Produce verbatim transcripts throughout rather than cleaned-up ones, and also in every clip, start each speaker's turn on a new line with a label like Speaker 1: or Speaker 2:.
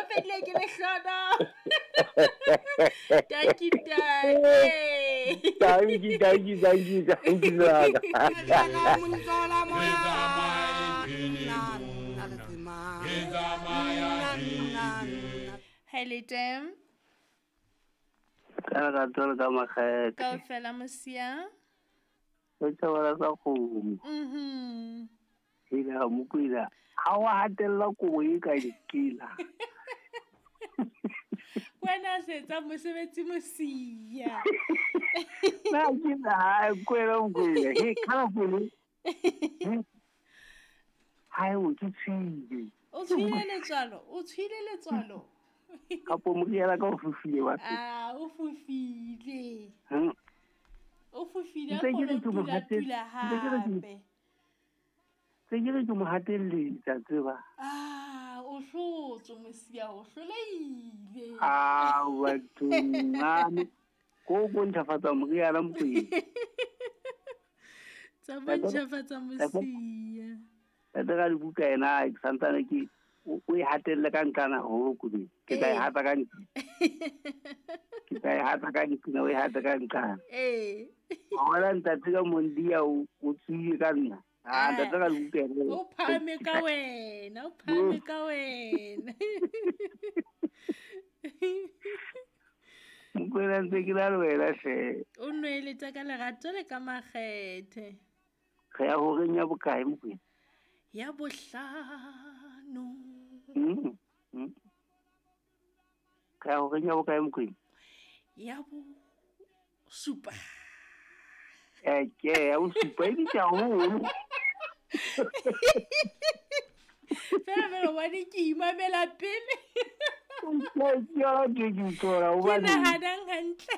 Speaker 1: fedile ke lehlono. Thank you, ntate.
Speaker 2: Thank you, thank you, thank you, thank you.
Speaker 1: Hello, Tim.
Speaker 2: Ka lerato ka makgethe.
Speaker 1: Kaofela mosia.
Speaker 2: O tshwara sa kgomo.
Speaker 1: Mhm.
Speaker 2: Ila mokwila. Ha wa hatella kobo e ka dikela.
Speaker 1: Wena setsa mosebetsi mosia.
Speaker 2: Na ke na kwela mokwila. He khala pele. Ha o ke tshwile.
Speaker 1: O tshwile letswalo, o tshwile letswalo.
Speaker 2: Kapo moriana ka o fofile wa.
Speaker 1: Ah, o fofile.
Speaker 2: Hm.
Speaker 1: O fofile a go tula hape.
Speaker 2: Se ke re ke mo hatelletsa tseba.
Speaker 1: Ah, o hlotse mosia, o hloleile.
Speaker 2: Ah, batho ngane. Ko go ntlafatsa moriana mokwena.
Speaker 1: Tsa bontlafatsa mosia.
Speaker 2: Tata ka dibuka ena ke santsane ke o e hatelle ka ntlana ho kudu. Ke tla e hata ka ntlana. Ke tla e hata ka ntlana, o e hata ka ntlana.
Speaker 1: Eh.
Speaker 2: Hola ntate ka mondia o o tswile ka nna. Ah, ntate ka dibuka ena.
Speaker 1: O phame ka wena, o phame ka wena.
Speaker 2: Mokwena ntse ke la le wena hle.
Speaker 1: O nweletsa ka lerato le ka makgethe.
Speaker 2: Re ya horeng ya bokae mokwena?
Speaker 1: Ya bohlano.
Speaker 2: Mm. Mm. Ka horeng ya bokae mokwena?
Speaker 1: Ya bo supa.
Speaker 2: Eh, ke ya bo supa e bitsa haholo.
Speaker 1: Fela fela wa di ke imamela pele.
Speaker 2: Ke yona ke ke utlwa
Speaker 1: Ke
Speaker 2: hobane.
Speaker 1: nahanang hantle.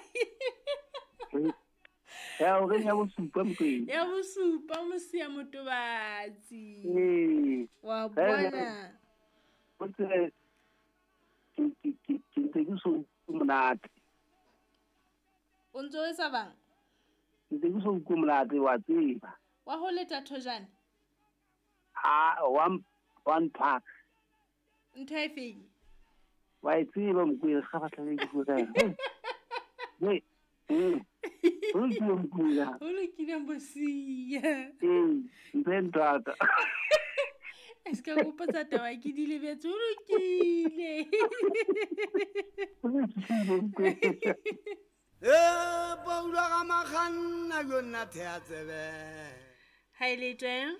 Speaker 2: Ya horeng ya bosupa mokwena.
Speaker 1: Ya bosupa mosia motobatsi.
Speaker 2: Ee.
Speaker 1: Wa bona.
Speaker 2: O tsebe ke ke ke ke ntse ke so utlwe monate.
Speaker 1: O ntso o etsa bang?
Speaker 2: Ntse ke so utlwe monate wa tseba.
Speaker 1: Wa ho leta thojane?
Speaker 2: Ah, one one pack.
Speaker 1: Ntho e feng?
Speaker 2: Wa e tseba mokwena ga batla le ke bua ka yona. Wait. Mm. O lokile mokwena.
Speaker 1: O lokile mosia.
Speaker 2: Ee, ntho e ntata.
Speaker 1: Es ka gopotsa taba ke di lebetse, o lokile.
Speaker 2: O lokile mokwena.
Speaker 3: E Paulo ga makganna yo nna thea tsebe.
Speaker 1: Ha e le teng?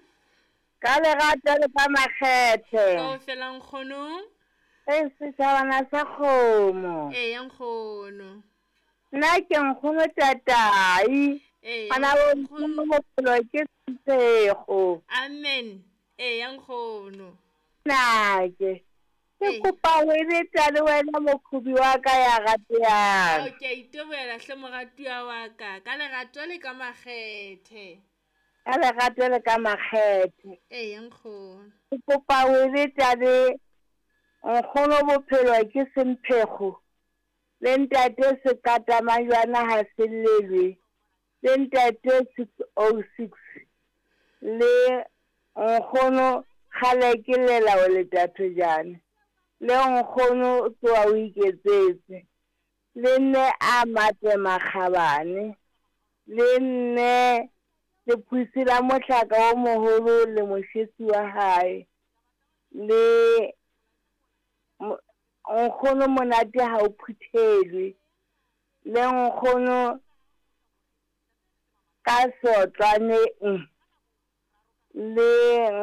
Speaker 4: Ka lerato le ka makgethe.
Speaker 1: Kaofela nkgono.
Speaker 4: E setjhabana sa kgomo.
Speaker 1: Ee, ya nkgono.
Speaker 4: Nna ke nkgono tatai.
Speaker 1: Ee,
Speaker 4: Bana bo
Speaker 1: nkgono.
Speaker 4: bophelo ke sesego.
Speaker 1: Amen. Ee, ya nkgono.
Speaker 4: Nake. Ke
Speaker 1: Ee.
Speaker 4: kopa ho eletsa le wena mokhubi wa ka ya ratehang.
Speaker 1: Ao, ke a itebohela hle moratuwa wa ka. Ka lerato le ka makgethe.
Speaker 4: Ka lerato le ka makgethe.
Speaker 1: Ee, ya nkgono.
Speaker 4: Ke kopa ho eletsa le nkgono bophelo ke semphego. Le ntate sekata majwana ha se llelwe. Le ntate six oh six. Le nkgono kgale ke lela o leta thojane. Le nkgono tsoa o iketsetse. Le nne a mate makgabane. Le nne lephusi la mohlaka o moholo le moshesi wa hae. Le mo- nkgono monate ha o phuthelwe. Le nkgono ka sotlwane mm. Le